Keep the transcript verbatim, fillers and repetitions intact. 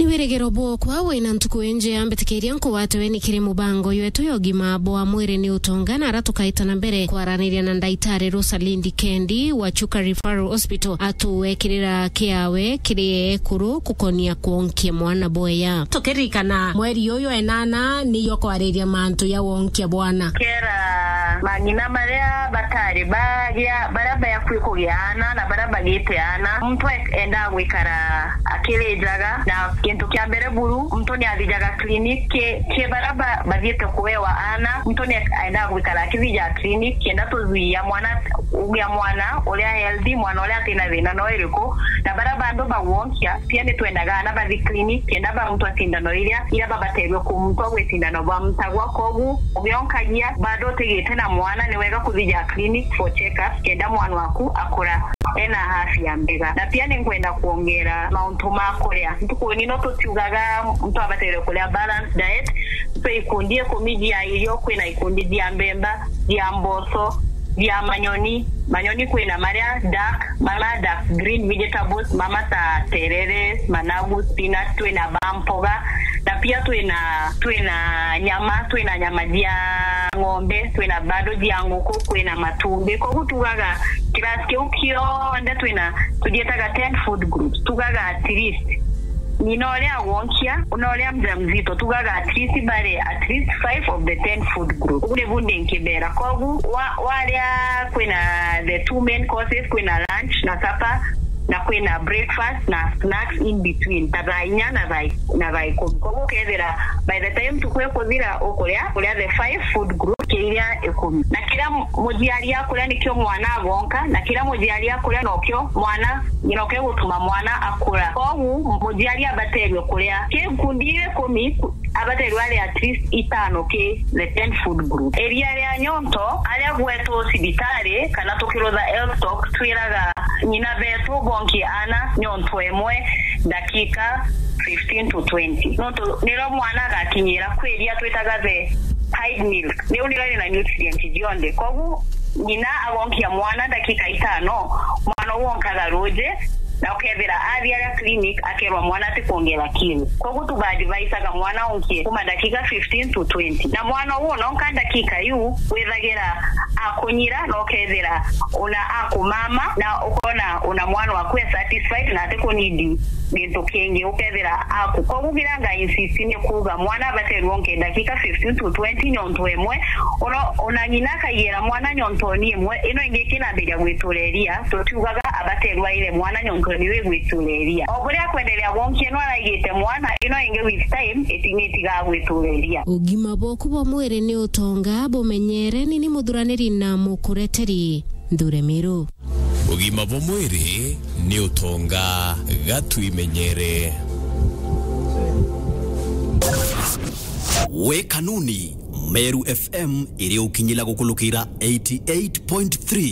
Wirigiro bwokwa wina ntuku injea, mbitikiria nkugwate ugeni kiri mubango ywetu ya ugima bwa mwiri ni utonga, na ara tukaita na mbere kwaraniria na ndaitari Rosalindi Kendi wa Chuka Referral Hospital, atuwekirira kiawe kiri ekuru gukonia kwonkia mwana bwega. Tukiririkana mweri uyu enana niyo kwariria mantu ya wonkia bwana. Kera mang'ina maria batari bagia, baria bakui kugia ana na baria bagite ana, muntu e-, endaa gwikara akirijaga, na gintu kia mbere buru, muntu ni athijaga clinic. Ki, ki baria ba-, bathiite kuewa ana, muntu ni endaa gwikara akithija clinic, kenda tuthwia mwana, ugia mwana uria healthy, mwana uria atina thina no iriku, na baria bandu bagwonkia, pia ni twendaga ana bathi clinic, kenda bamutwa sindano iria, iria babaterwe kumutwa gwi sindano bamutagwa. Kogu, ugionkagia, bado utigite na mwana, ni wega kuthija clinic for check-up, kenda mwana waku akura ena afya mbega. Na pia ni nkwenda kwongera mauntu ma kuria. Ntukuni no tutiugaga muntu abaterwe kuria balanced diet. Kwi ikundi ikumi cia irio, kwina ikundi cia mbemba, cia mboco, cia manyoni. Manyoni kwina maria dark, mama dark green vegetables, mama ta terere, managu, spinach, twina ba mpoga, na pia twina, twina nyama, twina nyama cia ng'ombe, twina bado cia nguku, kwina matumbi. Koguo tugaga class kiu kionthe twina, tujietaga ten food groups. Tugaga at least ng'ina uria agwonkia, na uria mjamzito, tugaga at least bari at least five of the ten food groups. Ugu nibu ndi nkibera. Kogu wa-, waria kwina the two main courses, kwina lunch na supper, na kwina breakfast na snacks in between, ta thaa inya na thaa, na thaa ikumi. Koguo ukethira by the time ntuku ikuthira ukuria, kuria the five food groups, kiria ikumi. Na kiria mu-, muciari akuria nikio mwana agonka, na kiria muciari akuria nokio mwana, nokio gutuma mwana akura. Koguo muciari abaterwe kuria ki ikundi ikumi ku-, abaterwe ari at least itano ki the ten food group. Iria ria nyonto, aria gwetwo cibitari kana tukirutha health talk, twiraga ng'ina betu bonkie ana nyonto imwe ndakika fifteen to twenty. Nontu niro mwana agakinyira kwi iria twitaga the hide milk. Riu niro rina nutrient cionthe. Koguo ng'ina agonkia mwana ndakika itano, mwana uu onkaga ruuji, na ukethira athi aria clinic akerwa mwana atikwongera kilo. Koguo tubaadvisaga mwana onkie kuma ndakika fifteen to twenty. Na mwana uu ononka ndakika iu, withagira akunyira, na ukethira una akumama, na ukona una mwana waku e satisfied na atikunidi gintu kingi, ukethira aku. Koguo kiria nga insist ni kuuga mwana abaterwe onke ndakika fifteen to twenty nyonto imwe. Ona, ona ng'ina akaigira mwana nyontoni imwe, ino ingi ikinambiria gwitureria, tutiugaga abaterwe aire mwana nyontoni iu igwitureria. O buria akwenderea gwonkia, no araigite mwana, ino ingi with time iti-, nitigaa gwitureria. Ugima bwaku bwa mwiri ni utonga, bumenyere. Ni ni muthuraniri na mukureteri Nthure Miru. Ugima bwa mwiri ni utonga, ga twimenyere. We Kanuni, Meru F M iri ukinyila gukulukira eighty eight point three.